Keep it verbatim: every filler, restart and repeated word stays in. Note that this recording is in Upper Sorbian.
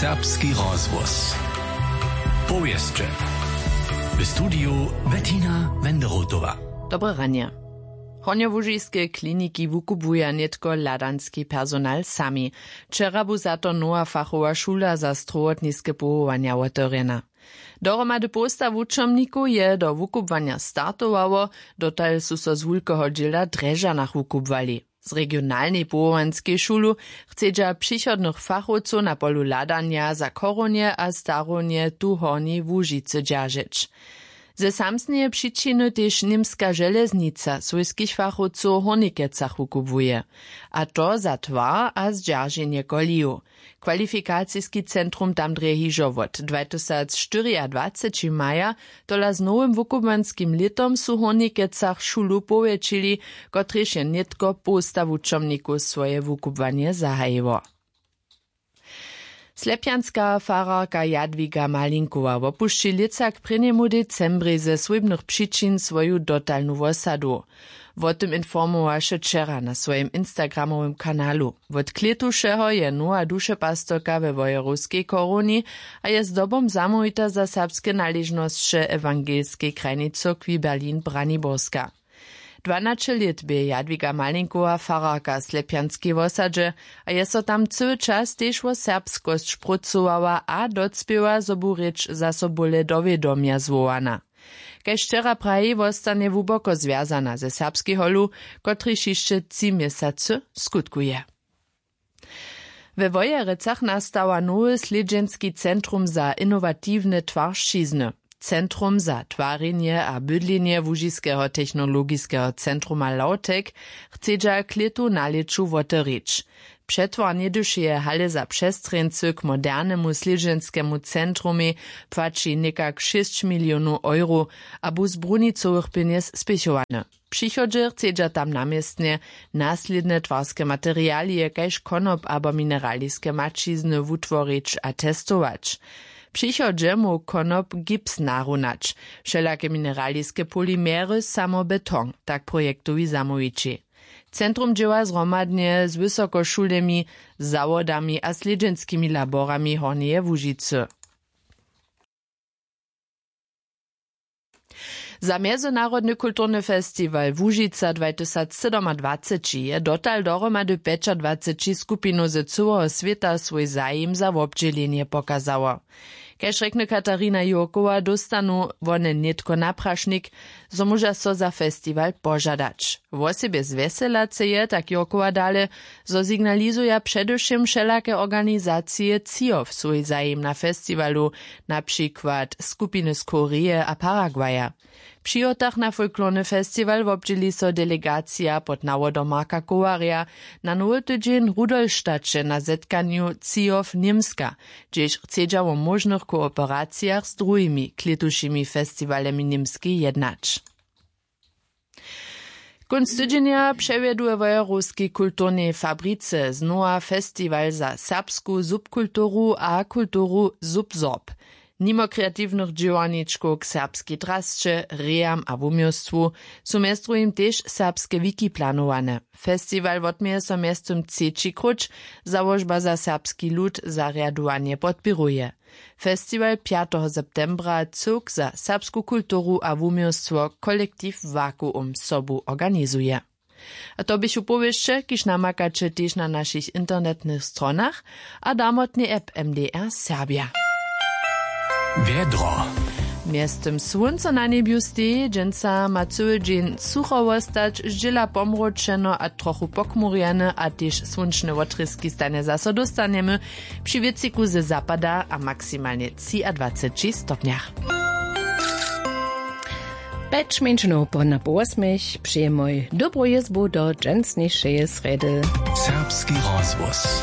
Serbski rozhłos. Powěsće. W studiju Bettina Wenderotowa. Dobre ranje. Hornjołužiske kliniki wukubłuja nětko hladanski personal sami. Wčera bu za to nowa fachowa šula za strowotniske powołanja wotewrjena. Dohromady połsta wučomnikow je do wukubłanja startowało. Dotal su so z wulkeho dźěla w drježdźanach wukubłali. Z regionalnej powołanskej šulu chcedźa přichodnych fachowcow na polu hladanja za chorownje a starownje tu w hornjej łužicy dźeržeć. Ze samsneje přičiny tež němska železnica swójskich fachowcow w hornikecach wukubłuje, a to za twar a zdźerženje kolijow. Kwalifikaciski centrum tam drje hižo wot dwatysacštyriadwaceći maja, tola z nowym wukubłanskim lětom su w hornikecach šulu powjetšili, kotrež je nětko połsta wučomnikow swoje wukubłanje zahajiło. Slepjanska fararka jadwiga malinkowa wopušći lětsa k prěnjemu decembrej ze swójbnych přičin swoju dotalnu wosadu. Wo tym informowaše wčera na swojim instagramowym kanalu. Wot klětušeho je nowa dušepastorka we wojerowskej chorowni a je zdobom zamołwita za serbske naležnosće ewangelskej krajnej cyrkwi berlin braniborska. Dwanaće lět bě jadwiga malinkowa fararka w slepjanskej wosadźe a je so tam cyły čas tež wo serbskosć prócowała a docpěła zo bu rěč zaso bóle do wědomja zwołana. Kaž wčera praji wostanje hłuboko zwjazana ze serbskej holu, kotryž hišće tři měsacy skutkuje. We wojerecach nastała nowy slědźenski centrum za inowatiwne twaršćizny. Centrum za twarjenje a bydlenje łužiskeho technologiskeho centruma lautek chcedźa klětu na lěću wotewrić. Přetwar něhdyšeje hale za přestrjeńcy k modernemu slědźenskemu centrumej płaći někak šěsć milionow euro a bu z brunicowych pjenjez spěchowany. Přichodźe chcedźa tam na městnje naslědne twarske materialije kaž konop abo mineraliske maćizny wutworić a testować. Přichodźe móhł konop gips narunać. Wšelake mineraliske polimery samo beton, tak projektowi zamołwići. Centrum dźěła zhromadnje z wysokošulemi, zawodami a slědźenskimi laborami hornjeje łužicy. Za mjezynarodny kulturny festiwal łužica dwatysacsydomadwaceći je dotal dohromady pjećadwaceći skupinow ze cyłeho swěta swój zajim za wobdźělenje pokazało. Kaž rjekny katarina jurkowa dóstanu wone nětko naprašnik, zo móža so za festiwal požadać. Wosebje zwjeselace je tak jurkowa dale, zo signalizuja předewšěm wšelake organizacije třijo swój zajim na festiwalu, na přikład skupiny z koreje a paraguaya. Při hotach na folklorny festiwal wobdźěli so delegacija pod nawodom marka kowarja na nowy tydźeń w rudolstaće na zetkanju cijow němska, hdźež chcedźa wo móžnych kooperacijach z druhimi klětušimi festiwalemi němskej jednać. Kónc tydźenja přewjedu we wojerowskej kulturnej fabrice znowa festiwal za serbsku subkulturu a kulturu subsorb. Nimo kreatiwnych dźěłarničkow k serbskej drasće, rejam a wuměłstwu su mjez druhim tež serbske wiki planowane. Festiwal wotměje so mjeztym třeći króć, załožba za serbski lud zarjadowanje podpěruje. Festiwal pjateho septembra cyłk za serbsku kulturu a wuměłstwo kolektiw vakuum sobu organizuje. A to běchu powěsće, kiž namakaće tež na našich internetnych stronach a damotnej app mdr serbja. Wjedro. Mjeztym słónco na njebju steji, dźensa ma cyły dźeń sucho wostać, zdźěla pomróčeno a trochu pokmurjene a tež słónčne wotrězki stanje zaso dóstanjemy při wětřiku ze zapada a maksimalnje třiadwaceći stopnjach. Pjeć mjeńšinow po na po wosmich přijemoj dobru jězbu do dźensnišeje srjedy. Serbski rozhłos.